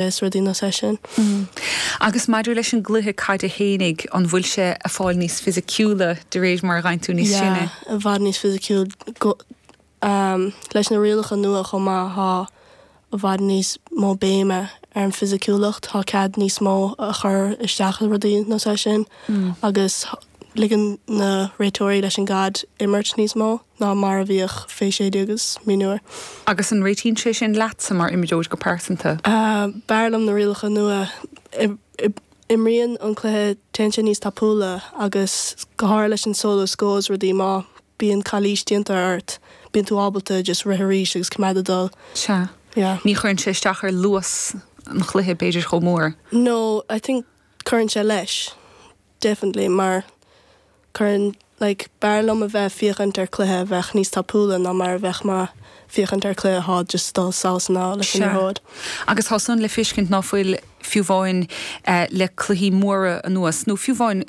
Is rudaí nós é sin. Agus maidir leis an gcluiche caide fhéinig, an bhfuil sé a' fáil níos fisiciúla de réir mar a ghabhann tú níos sine? Yeah, i bhfad níos fisiciúil. Go, leis na rialacha nua chomh maith, thá i bhfad níos mó béime ar an bhfisiciúlacht, thá cead níos mó a chur isteach i rudaí nós é sin agus ligeann na réiteoirí leis an gcaid imirt níos mó. ná mar a bhíodh fé 16 agus mionúir. Agus an réitíonn sé sin leatsa mar imreoir go pearsanta? B'fhearr liom na rialacha nua. Imríonn an cluiche, téann sé níos tapúla agus go háirithe leis an solo scór is rudaí, má bíonn calaois déanta ort, bíonn tú ábalta just rith arís agus coimeád ag dul. Sea. Yeah. Ní chuireann sé isteach ar luas an chluiche b'fhéidir chomh mór. No, I think cuireann sé leis. Definitely, mar cuireann, like, b'fhearr liom a bheith féachaint ar cluiche a bheadh níos tapúla ná mar a bheadh mé féachaint ar cluiche athá just dul sall 's anall leis an Sea. liathróid. Agus tá san le feiscint ná fuil, fiú amháin le cluichí móra anuas, nó fiú amháin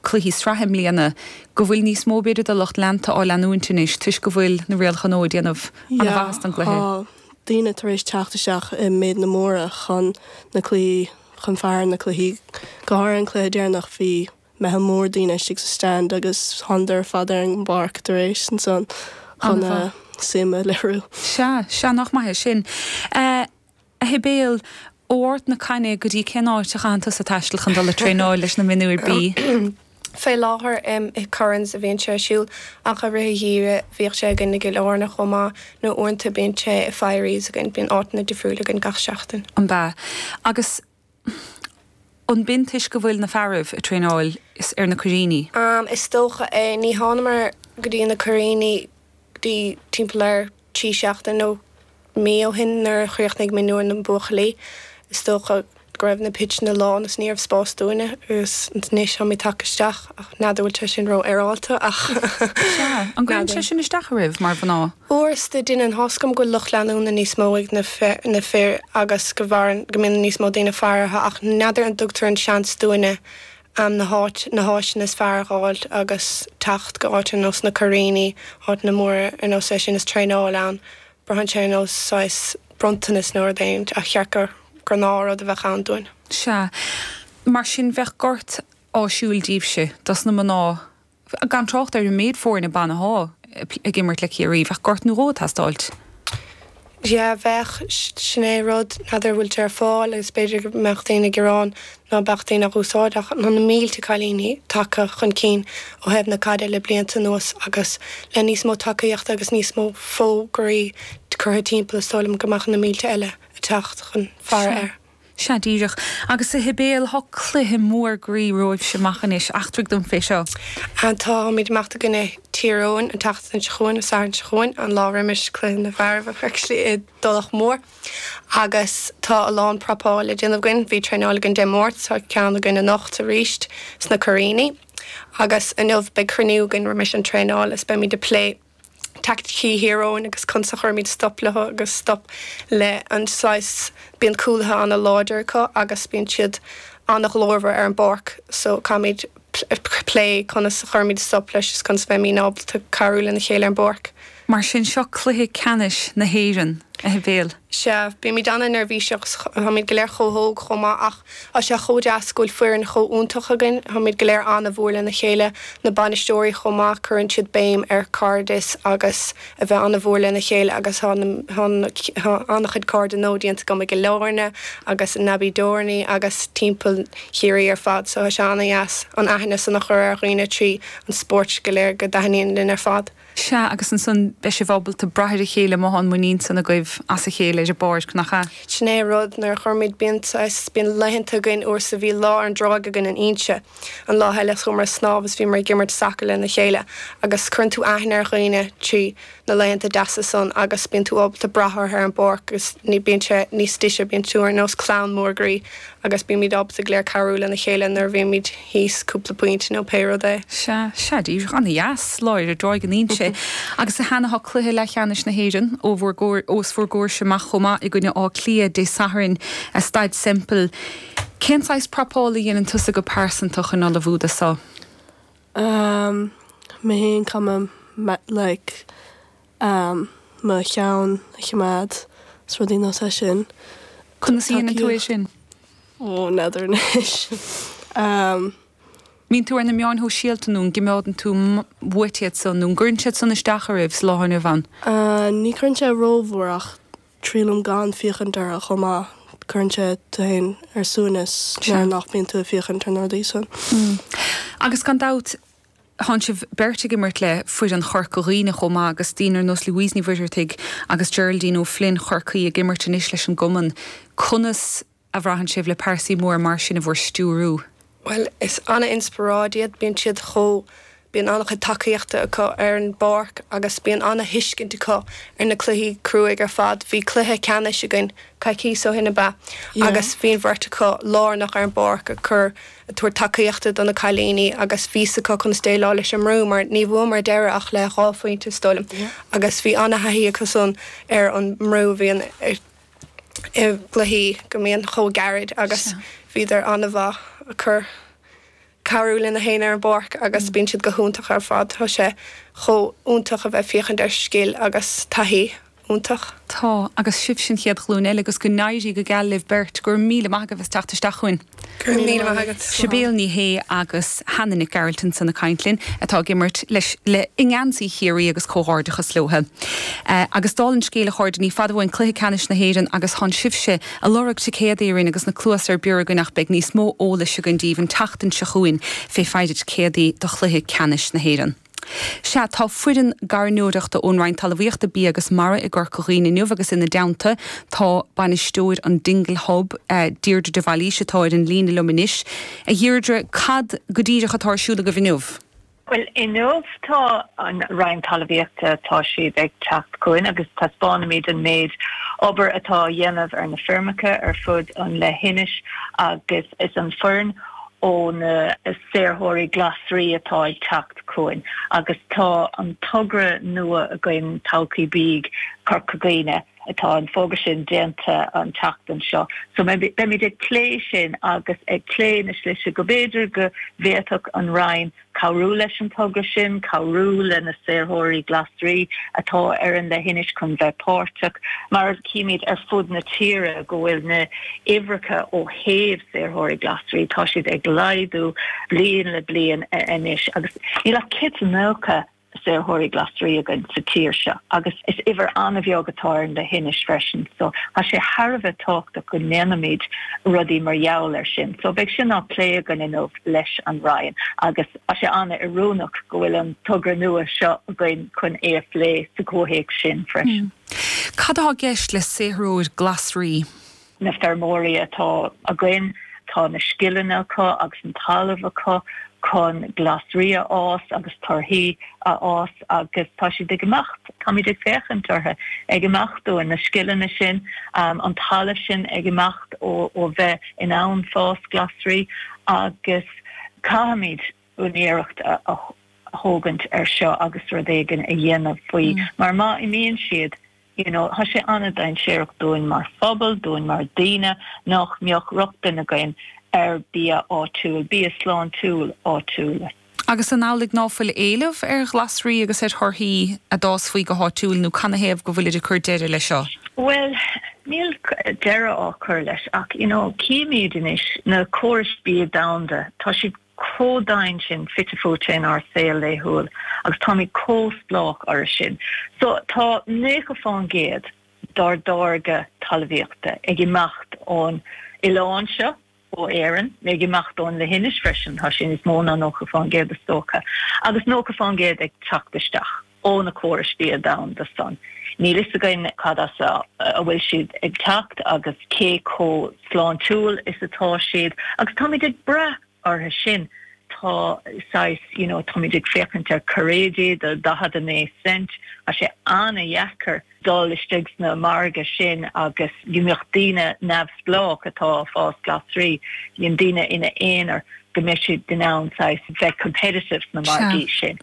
cluichí sraithe i mbliana, go bhfuil níos mó b'fhéidir de lucht leanta á leanúint anois toisc go bhfuil na rialacha nua ag déanamh Yeah, an-mhaitheas don gcluiche. tá daoine tar éis teacht isteach i méideanna móra chun na cluichí chun faire na cluichí, go háirithe an cluiche deireanach, bhí meitheal mór daoine istigh sa stand agus thánadar ar fad ar an bpáirc tar éis ansan chun a suim a léiriú. Sea, sea, nach maith é sin. A Shibéal, ó Ard na Caithne go dtí cén áit a chaitheann tusa taisteal chun dul ag traenáil leis na mionúir B? Fé láthair i Currans a bhíonn sé ar siúl ach i rith an gheimhridh bhíodh sé againn i gCill Airne chomh maith nó uaireanta bíonn sé i Firies againn, bíonn áiteanna difriúla againn gach seachtain. An b'ea? Agus an b'in toisc go bhfuil na fearaibh ag traenáil ar na Coiríní? Is dócha é. Ní thánamar go dtí na Coiríní go dtí timpeall ar 3 seachtain nó mí ó shin nuair a chríochnaigh mionúir na mbuachaillí. Is dócha go raibh na pitseanna lán is ní raibh spás dúinne agus anois táimid tagtha isteach ach n'fheadar bhfuil sé sin ró-fhéaráilte ach Sea, an gcuireann sé sin isteach oraibh mar mhná? Uaireanta déanann, tá's agam go bhfuil lucht leanúna níos mó ag na na fir agus go bhfarann go mbíonn níos mó daoine faire orthu ach n'fheadar an dtugtar an seans dúinne na háit na háiseanna is fearr a dh'fháilt agus teacht go áit ar nós na Coiríní, áiteanna móra ar nós é sin is traenáil ann. Braitheann sé ar nós saghas bronntanas nó rud éigin ach cheart gur gnáthrud a bheadh ann dúinn. Sea. Mar sin bheadh gort áisiúil díbhse, dos na mná, gan trácht ar an méid foirne ban athá ag imirt le Ciarraí, bheadh gort nó dhó ag teastáilt. Yeah, bheadh. Sin é rud, n'fheadar an bhfuil sé ar fáil agus b'fhéidir go mbeadh daoine ag gearán ná beadh daoine á úsáid ach tá na mílte cailíní tagtha chun cinn ó thaobh na caide le blianta anuas agus le níos mó tacaíochta agus níos mó fógraí curtha timpeall is dóigh liom go mbeadh na mílte eile ag teacht chun faire air. Sea, díreach. Agus a Shibéal, thá cluiche mór groí romhaibhse amach anois. Eachtraigh dom fé seo. Táimid ag imeacht i gcoinne Tír Eoghain an tseachtain seo chugainn, an Satharn seo chugainn, an lá roimis cluiche na bhfearaibh actually i dTulach Mhór. Agus tá a lán prapáil le déanamh againn. Bhí traenáil againn Dé Máirt, tá ceann againn anocht arís sna Coiríní. Agus inniu beidh cruinniú againn roimis an traenáil is beimid ag plé teaicticí Thír Eoghain agus conas a chuirimid stop leo agus stop le an saghas, bíonn cúlaithe ana-láidir acu agus bíonn siad ana-ghlórmhar ar an bpáirc so caithfimid plé conas a chuirimid stop leis is conas a bheimid ábalta cabhrú lena chéile ar an bpáirc. Mar sin, seo cluiche ceannais na hÉireann, a Shibéal. Sea, bímid ana-neirbhíseach agus táimid go léir chomh hóg chomh maith ach tá sé chomh deas go bhfuil foireann chomh iontach againn. Táimid go léir ana-mhór lena chéile, na bainisteoirí chomh maith, cuireann siad béim ar cairdeas agus a bheith ana-mhór lena chéile agus tá tá an-chuid cairde nua déanta agam i gCill Airne agus in Abbeydorney agus timpeall Chiarraí ar fad so tá sé ana-dheas an aithne san a chur ar dhaoine trí an spórt go léir go dtaitníonn linn ar fad. Sea, agus ansan beidh sibh ábalta brath ar a chéile má thá an muinín san agaibh as a chéile ar an bpáirc, nach ea? Sin é an rud, nuair a chuirimid, bíonn saghas, bíonn laethanta againn, uair sa mhí, lá ar an dtráigh againn in Inse, an lá eile chuamar ag snámh is bhíomar ag imirt sacair lena chéile agus cuireann tú aithne ar dhaoine trí na laethanta deasa san agus bíonn tú ábalta brath orthu ar an bpáirc agus ní, bíonn sé níos deise, bíonn tú ar nós clann mór groí agus bímid ábalta go léir cabhrú lena chéile nuair a bhímid. thíos cúpla pointe nó pé rud é. Sea, sea, díreach. Ana-dheas, lá ar an dtráigh in Inse. Agus a Hannah, tá cluiche leathcheannais na hÉireann ó bhur gcomhair, os bhur gcomhairse amach chomh maith i gcoinne Átha Cliath Dé Sathairn i Staid Semple. Cén saghas prapála a dhéanann tusa go pearsanta chun ullmhú do so? Umm, mé fhéin, caithfidh mé like, mo cheann a choimeád is rudaí nós é sin. Conas a dhéanann tú é sin? Ó, n'fheadar anois. Mbíonn tú ar na meáin shóisialta nó an gcimeádann tú uait iad san nó an gcuireann siad san isteach oraibh sa lá inniu ann? Ní chuireann sé rómhór ach triailim gan féachaint orthu chomh maith. Cuireann sé tú féin ar suaimhneas nuair nach mbíonn tú ag féachaint ar na rudaí san. Agus gan dabht, Tánn sibh beirt ag imirt le foireann Chorca Dhuibhne chomh maith agus daoine ar nós Louise Ní Mhuircheartaigh agus Geraldine O'Flynn Chorcaí ag imirt anois leis an gcumann. Conas a bhraitheann sibh le pearsaí móra mar sin i bhur stiúrú? Bhuel, is an-inspioráid iad. Bíonn siad chomh, bíonn an-chuid tacaíochta acu ar an bpáirc agus bíonn an-thuiscint acu ar na cluichí cruaidh ar fad. Bhí cluiche ceannais againn coicíos ó shin ab ea? Agus bhí an bheirt acu lárnach ar an bpáirc ag cur ag tabhairt tacaíochta do na cailíní agus bhí 'fhios acu conas déileáil leis an mbrú mar ní bhuamar ar deireadh ach le 2 phointe is dóigh liom agus bhí an-thaithí acu san ar an mbrú a bhíonn i gcluichí go mbíonn chomh gairid agus bhíodar an-mhaith ag cur cabhrú lena chéile ar an bpáirc agus bíonn siad go hiontach ar fad. Tá sé chomh iontach a bheith ag féachaint ar scil agus taithí. iontach. Tá, agus sibhse an chéad ghlúin eile agus go n-éirí go geal libh beirt. Go raibh míle maith agaibh as teacht isteach chugainn. Go raibh míle maith agat. Sibéal Ní Shé agus Hannah Nic Gearailt ansan ag caint linn, atá ag imirt leis le i ngeansaí Chiarraí agus comhghairdeachas leotha. Agus dála an scéil a chairde, ní fada uainn Cluiche Ceannais na hÉireann agus tánn sibhse ag lorg ticéadaí orainn agus na cluasa ar bior againn ach beidh níos mó eolais againn daoibh an tseachtain seo chugainn fé foighde ticéadaí do Chluiche Ceannais na hÉireann. Sea, tá foireann gairneoireachta ón Roinn Talmhaíochta, Bia agus Mara i gCorca Dhuibhne inniu agus ina dteannta tá bainisteoir an Dingle Hub, Deirdre de Bhailís, atá ar an líne liom anois. A Dheirdre, cad go díreach atá ar siúl agaibh inniu? Bhuel, inniu tá an Roinn Talmhaíochta, tá siad ag teacht chugainn agus taispeánfaimid an méid obair atá á dhéanamh ar na feirmeacha ar fud an leithinis agus is an foireann ó na saothróirí glasraí atá ag teacht chugainn agus tá an togra nua againn, Todhchaí Bídh Chorca Dhuibhne, tá an fógra sin déanta an tseachtain seo. So beimid ag plé sin agus ag plé na slite go b'fhéidir go bhféadfadh an Roinn cabhrú leis an togra sin, cabhrú le na saothróirí glasraí atá ar an leithinis chun bheith páirteach, mar címid ar fud na tíre go bhfuil na huimhreacha ó thaobh saothróirí glasraí, tá siad ag laghdú bliain le bliain anois agus níl ach 190 saothróirí glasraí againn sa tír seo agus is uimhir an-bheag atá ar an leithinis freisin so tá sé thar a bheith tábhachtach go ndéanfaimid rudaí mar gheall air sin. So beidh sin á plé againn inniu leis an Roinn agus tá sé an-oiriúnach go bhfuil an togra nua seo againn chun é a phlé sa chomhthéacs sin freisin. Cad atá i gceist le saothróir glasraí? Na feirmeoirí atá againn, tá na scileanna acu agus an talamh acu chun glasraí a fhás agus torthaí a fhás agus tá siad ag imeacht, táimid ag féachaint orthu ag imeacht uainn, na scileanna sin, an talamh sin ag imeacht ó bheith in ann fás glasraí agus caithfimid úinéireacht a thógaint ar seo agus rud éigin a dhéanamh faoi mar má imíonn siad, You know, tá sé an-dainséarach dúinn mar phobal, dúinn mar daoine, nach mbeadh rochtain againn ar bia áitiúil, bia sláintiúil áitiúil. Agus an amhlaidh ná fuil éileamh ar ghlasraí agus ar thorthaí a d'fhásfaí go háitiúil nó canathaobh go bhfuilid ag cur deireadh leis seo? Bhuel, níl deireadh á cur leis ach, you know, címid anois na córais bia domhanda, tá siad chomh domhain sin fite fuaite inár saol laethúil agus táimid chomh spleách orthu sin. So tá 90% dár dtáirgeadh talmhaíochta ag imeacht ón oileán seo, ó Éirinn, ag imeacht ón leithinis freisin, tá sé níos mó ná 90% is dócha, agus 90% ag teacht isteach ó na córais bia domhanda san. Níl fhios againn cad as a bhfuil siad ag teacht agus cé chomh sláintiúil is atá siad agus táimid ag brath orthu sin. Tá saghas, you know, táimid ag féachaint ar cairéidí do 49 cent, tá sé an-dheacair dul istigh sna margaidh sin agus go mbeadh daoine neamhspleách atá ag fás glasraí, you know, daoine ina aonar, go mbeadh siad in ann saghas bheith competitive sna margaí sin.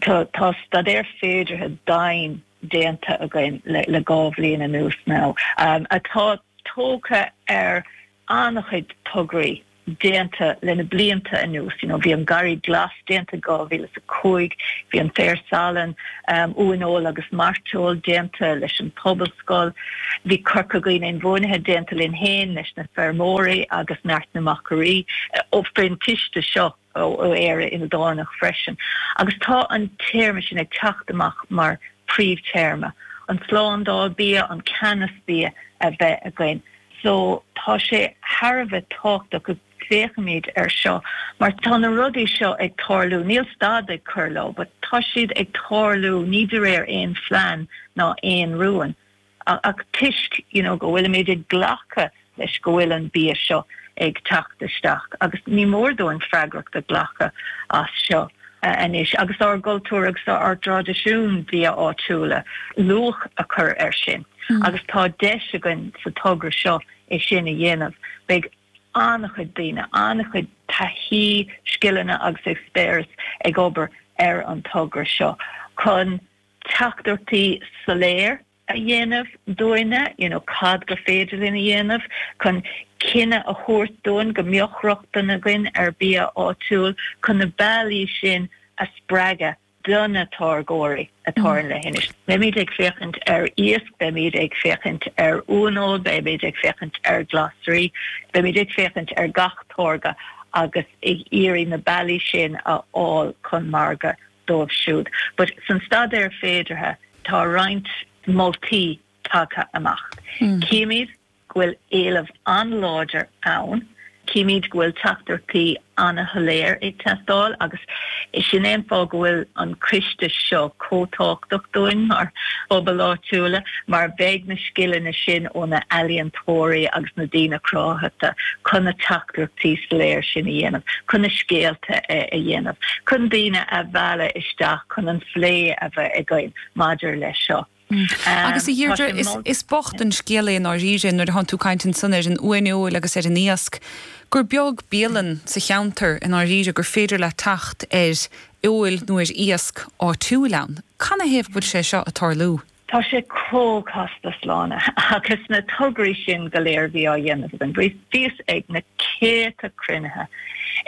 Tá tá staidéar féideartha domhain déanta againn le le 2 bhliain anuas now atá tógtha ar an-chuid tograí. déanta le na blianta anuas. You know, bhí an Garraí Glas déanta i 2005, bhí an Féar Salainn, Uaineoil agus Mairteoil déanta leis an Pobalscoil, bhí Corca Dhuibhne Inbhuanaithe déanta linn féin, leis na feirmeoirí agus neart na machairí ó faoin ciste seo ó Éire Ildánach freisin. Agus tá an téarma sin ag teacht amach mar príomhtéarma, an tslándáil bia, an ceannas bia a bheith againn. So tá sé thar a bheith tábhachtach go bhféachaimid ar seo mar tá na rudaí seo ag tarlú, níl stad ag cur leo but tá siad ag tarlú ní de réir aon phlean ná aon rúin ach toisc you know go bhfuilimid ag glacadh leis go bhfuil an bia seo ag teacht isteach agus ní mór dúinn freagracht a ghlacadh as seo anois agus ár gcultúr agus ár dtraidisiún bia áitiúla, luach a chur air sin agus tá deis againn sa togra seo é sin a dhéanamh. Beidh an-chuid daoine, an-chuid taithí, scileanna agus eispéireas ag obair ar an togra seo chun teachtaireachtaí soiléir a dhéanamh dúinne, you know cad gur féidir linn a dhéanamh chun cinneadh a thabhairt dúinn go mbeadh rochtain againn ar bia áitiúil, chun na bealaí sin a spreagadh do na táirgeoirí atá ar an leithinis. Beimid ag féachaint ar iasc, beimid ag féachaint ar uaineoil, beimid ag féachaint ar ghlasraí, beimid ag féachaint ar gach táirge agus ag iarraidh na bealaí sin a fháil chun margadh dóibh siúd. But san staidéar féideartha tá roinnt moltaí tagtha amach. Címid go bhfuil éileamh an-láidir ann, címid go bhfuil teachtaireachtaí an-shoiléir ag teastáil agus sin é an fáth go bhfuil an coiste seo chomh tábhachtach dúinn mar phobail áitiúla mar beidh na scileanna sin ó na ealaíontóirí agus na daoine cruthaitheacha chun na teachtaireachtaí soiléir sin a dhéanamh, chun na scéalta a dhéanamh, chun daoine a mhealladh isteach chun an phlé a bheith againn maidir leis seo. Agus a Dheirdre, is bocht an scéal é i ndáiríre nuair a thánn tú ag caint ansan ar an uaineoil agus ar an iasc, gur beag bialann sa cheantar i ndáiríre gur féidir leat teacht ar fheoil nó ar iasc áitiúil ann. Canathaobh go bhfuil sé seo ag tarlú? Tá sé chomh casta, Sláine, agus na tograí sin go léir a bhí á dhéanamh againn. Bhíos ag na céadta cruinnithe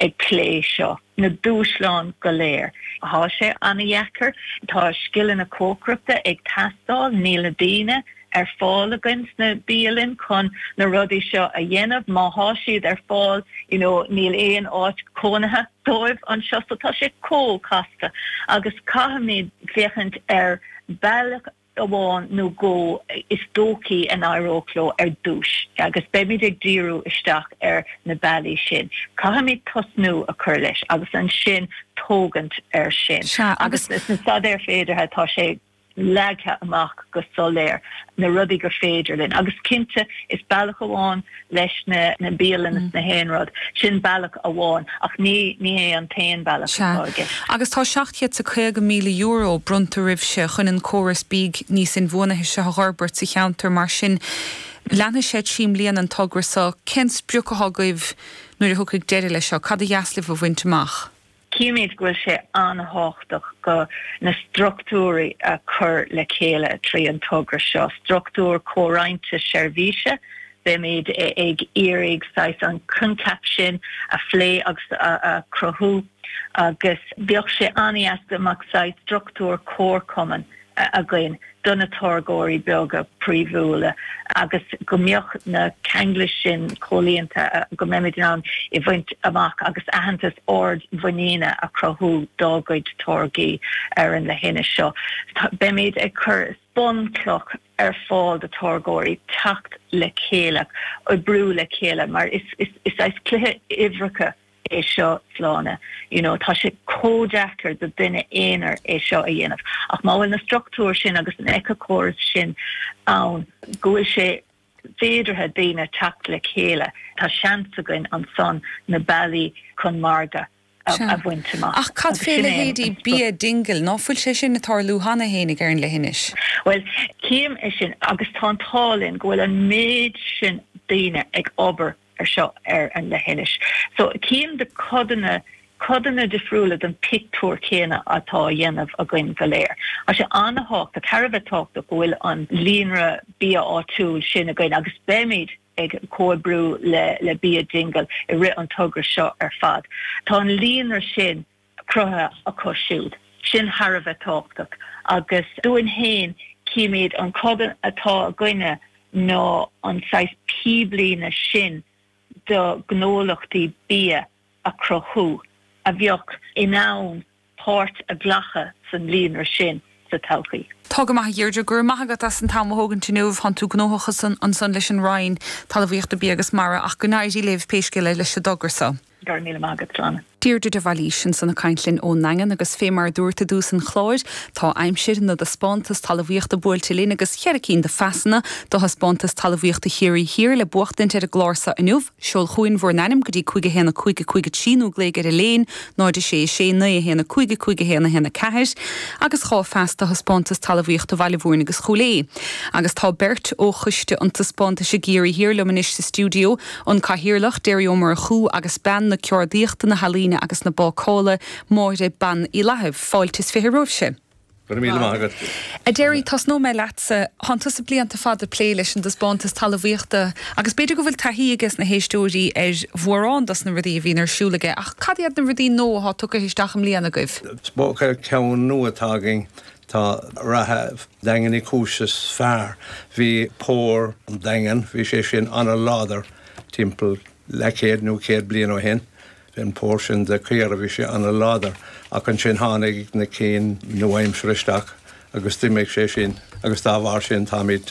ag plé seo, na dúshláin go léir. Tá sé an-dheacair. Tá scileanna cócaireachta ag teastáil. Níl na daoine ar fáil againn sna bialainn chun na rudaí seo a dhéanamh. Má thá siad ar fáil, you know, níl aon áit cónaithe dóibh anseo. So tá sé chomh casta agus caithfimid féachaint ar bealach amháin nó dhó is dóichí a n-éireodh leo ar dtús agus beimid ag díriú isteach ar na bealaí sin. Caithfimid tosnú a chur leis agus ansin tógaint air sin. Sea, agus. Sna staidéir féideartha tá sé leagtha amach go soiléir na rudaí gur féidir linn agus cinnte is bealach amháin leis na bialanna is na haon rud, sin bealach amháin ach ní ní hé an t-aon bealach Sea. atá i gceist. Agus tá €750,000 bronnta oraibhse chun an córas bídh níos inbhuanaithe seo a dh'fhorbairt sa cheantar, mar sin leanfaidh sé 3 mbliana an togra seo. Cén sprioc athá agaibh nuair a thiocfaidh deireadh leis seo? Cad a dheas libh a bhaint amach? Címid go bhfuil sé an-thábhachtach go na struchtúirí a chur le chéile trí an togra seo, struchtúr comhroinnte seirbhíse, beimid ag iarraidh saghas an coincheap sin a phlé agus a chruthú agus bheadh sé an-dheas go mbeadh saghas struchtúr comharchumainn againn do na táirgeoirí beaga príomhúla agus go mbeadh na ceanglais sin comhlíonta, go mbeimid in ann é bhaint amach agus aitheantas ardmhuiníne a chruthú dá gcuid táirgí ar an leithinis seo. Beimid ag cur bunchloch ar fáil do táirgeoirí teacht le chéile, oibriú le chéile mar is saghas cluiche uimhreacha é seo Sláine. You know, tá sé chomh deacair do duine aonair é seo a dhéanamh. Ach má bhfuil na struchtúir sin agus an éiceachóras sin ann, go bhfuil sé féideartha daoine teacht le chéile, tá seans againn ansan na bealaí chun margadh a bhaint amach. Ach cad Agus fé sin é an leithéidí sprioc. Bia Dingle? Ná fuil sé sin ag tarlú cheana fhéinig ar an leithinis? Bhuel, cím é sin agus tá an t-ádh linn go bhfuil an méid sin daoine ag obair ar seo ar an leithinis. So cím de codanna, codanna difriúla den pictiúr céanna atá á dhéanamh againn go léir. Tá sé an-thábhachtach, thar a bheith tábhachtach go bhfuil an líonra bia áitiúil sin againn agus beimid. ag comhoibriú le Bia Dingle i rith an togra seo ar fad. Tá an líonra sin cruthaithe acu siúd. Sin thar a bheith tábhachtach agus dúinn féin címid an codann atá againne ná an saghas píblíne sin do ghnólachtaí bia a chruthú a bheadh in ann páirt a ghlacadh san líonra sin sa todhchaí. Tá go maith a Dheirdre, go raibh maith agat as an t-am a thógaint inniu. Tánn tú gnóthach ansan leis an Roinn Talmhaíochta, Bia agus Mara ach go n-éirí libh pé scéal é leis an dtogra so. Go raibh míle maith agat, Sláine. Deirdre de Bhailís ansan ag caint linn ón nDaingean agus fé mar a dúrt i dtús an chláir, tá aimsir na dtaispeántas talmhaíochta buailte linn agus cheithre cinn de phasanna do thaispeántas talmhaíochta Chiarraí Thiar le buachtaint ar an gclár so inniu. Seol chugainn bhur n-ainm go dtí 5 1 5 5 3 nó glaoigh ar an léin 0 6 6 9 1 5 5 1 1 4 agus 2 phas do thaispeántas talmhaíochta Bhaile Mhúirne agus Chúil Aodha. Agus tá beirt ó choiste an taispeántais i gCiarraí Thiar liom anois sa stiúideo, an Cathaoirleach, Derry Ó Murchú agus bean na ceardaíochta, na healaíne agus na bácála, Máire Bean Uí Fhlaithimh. Fáilte is 20 romhaibhse. Go raibh míle maith agat. A Derry, tosnóidh mé leatsa. Thánn tusa blianta fada ag plé leis an dtaispeántas talmhaíochta agus b'fhéidir go bhfuil taithí ages na héisteoirí ar mhórán dos na rudaí a bhíonn ar siúl aige ach cad iad na rudaí nua atá tugtha isteach i mbliana agaibh? Is dócha ceann nua atá againn, tá reatha Daingean Uí Chúis is fearr. Bhí pór an Daingean, bhí sé sin ana-láidir timpeall leathchéad nó 100 bliain ó shin. Bhí an pór sin de caora, bhí sé ana-láidir, ach ansin tháinig na cinn nua-aimseartha isteach agus d'imigh sé sin agus dá bharr sin táimid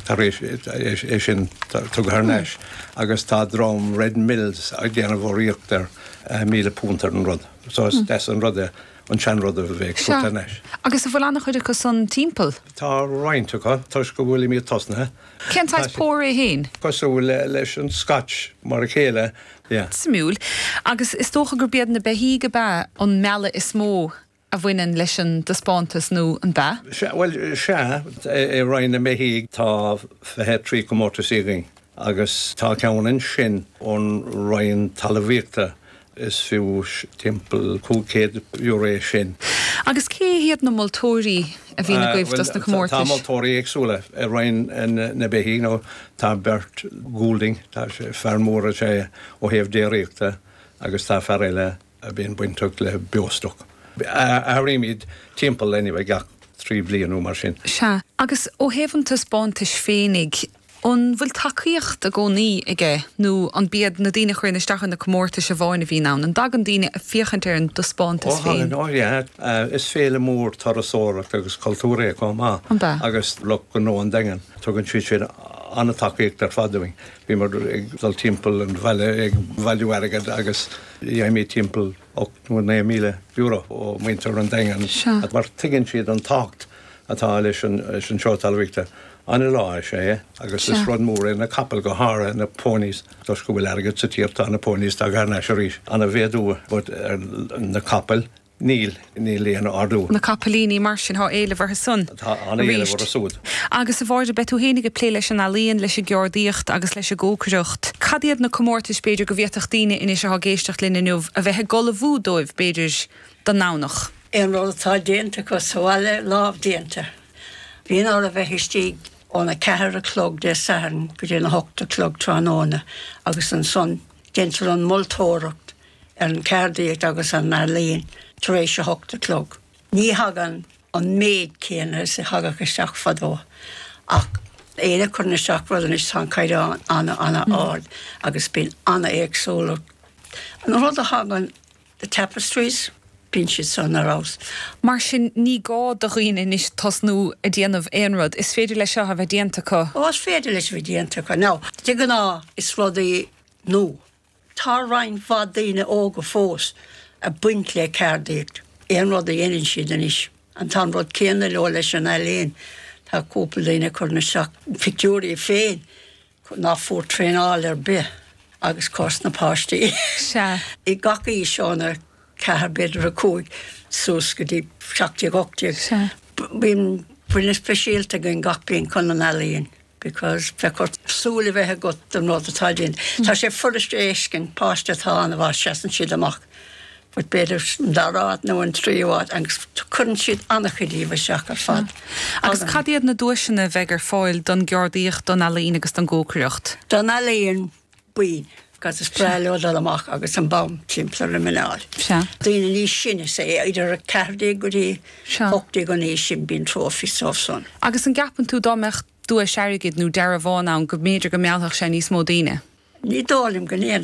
tar éis é sin tugtha thar n-ais agus tá dream Red Mills ag déanamh urraíocht air, £1,000 ar an rud. So is deas an rud é an seanrud a bheith ag tabhairt thar n-ais. Agus an bhfuil an-chuid acu san timpeall? Tá roinnt acu, toisc go bhfuilimid tosnaithe. Cén saghas pór é féin? Cosúil leis an Scotch mar a chéile, yeah. Suimiúil. Agus is dócha gurb iad na beithígh ab ea an mealladh is mó a bhaineann leis an dtaispeántas, nó an b'ea? Sea, bhuel, sea. I Roinn na mBeithígh tá 23 comórtas againn agus tá ceann ansin ón Roinn Talmhaíochta Is fiú timpeall €500 é sin. Agus cé hiad na moltóirí a bhíonn agaibh dos na comórtais? Tá moltóirí éagsúla i Roinn na Beithígh nó tá beirt Goulding, tá sé fear mór is ea é ó thaobh déiríochta agus tá fear eile a bhíonn bainteach le beostoc. Athraímid timpeall anyway gach 3 bliain nó mar sin. Sea. Agus ó thaobh an taispeántais féinig, An bhfuil tacaíocht i gcónaí aige nó an b'iad na daoine a chuireann isteach ar na comórtais amháin a bhíonn ann? An dtagann daoine ag féachaint ar an dtaispeántas Ó féin? thagann, ó yeah. Is féile mór turasóireachta agus cultúir é chomh maith. An b'ea? Agus lucht gnó an Daingin, tugann siad sin an-tacaíocht ar fad dúinn. Bhíomar ag dul timpeall an bhaile ag bailiú airgead agus gheibhimid timpeall €8 nó €9,000 ó mhuintir an Daingin Sea. mar tuigeann siad an tábhacht atá leis an seó talmhaíochta. An-lá is ea é agus is rud mór é na capaill, go háirithe na ponies. Toisc go bhfuil airgead sa tír tá na ponies tagtha thar n-ais arís. Ana-mhéadú but ar na capaill níl, níl aon ardú. Na capaillíní mar sin, tá éileamh orthu san Tá an-éileamh orthu siúd. Agus a Mháire, beidh tú fhéinig ag plé leis an ealaíon, leis an gceardaíocht agus leis an gcócaireacht. Cad iad na comórtais b'fhéidir go bhféadfadh daoine anois atá ag éisteacht linn inniu a bheith ag ullmhú dóibh b'fhéidir don nDomhnach? Aon rud atá déanta acu sa bhaile, lámh déanta. Bíonn orthu bheith istigh óna ceathair a chlog Dé Sathairn go dtí an hocht a chlog tráthnóna agus ansan deintear an moltóireacht ar an cheardaíocht agus an ealaín tar éis a hocht a chlog. Ní thagann an méid céanna is a thagadh isteach fadó ach éinne a chuireann isteach rud anois tá an caighdeán ana ana ard agus bíonn ana éagsúlacht. An rud a thagann The tapestries, bíonn siad san ar fheabhas. Mar sin, ní gá do dhaoine anois tosnú ag déanamh aon rud. Is féidir leis seo a bheith déanta acu. Ó, is féidir leis a bheith déanta acu. Now, de ghnáth, is rudaí nua. Tá roinnt mhaith daoine óga fós ag baint le ceardaíocht, aon rud a dhéanann siad anois. And tá an rud céanna leo leis an ealaín. Tá cúpla daoine ag cur isteach pictiúirí féin. ná fuair traenáil ar bith agus cás na páistí Sea. i gach aois óna ceathair b'fhéidir 5 suas go dtí 17 18. Sea. Bíonn baile speisialta againn gach bliain chun an ealaíon because bheadh ort súil a bheith agat don rud atá déanta. Tá sé furast a fheiscint, páiste atá an-mhaith seasann siad amach. But b'fhéidir an dara háit nó an tríú háit agus cuireann siad an-chuid díobh isteach ar fad. Agus cad iad na duaiseanna a bheidh ar fáil don gceardaíocht, don ealaín agus don gcócaireacht? Don ealaíon, boinn, because is breá leo dul amach agus an bonn timpeall ar a muineál. Sea. Daoine níos sine, say, idir 14 go dtí 18 an aois sin, bíonn trophies dóibh san. Agus an gceapann tú dá mbeadh duais airgid nó dearbhán ann go mb'fhéidir go meallfadh sé níos mó daoine? Ní dóigh liom go ndéanfadh.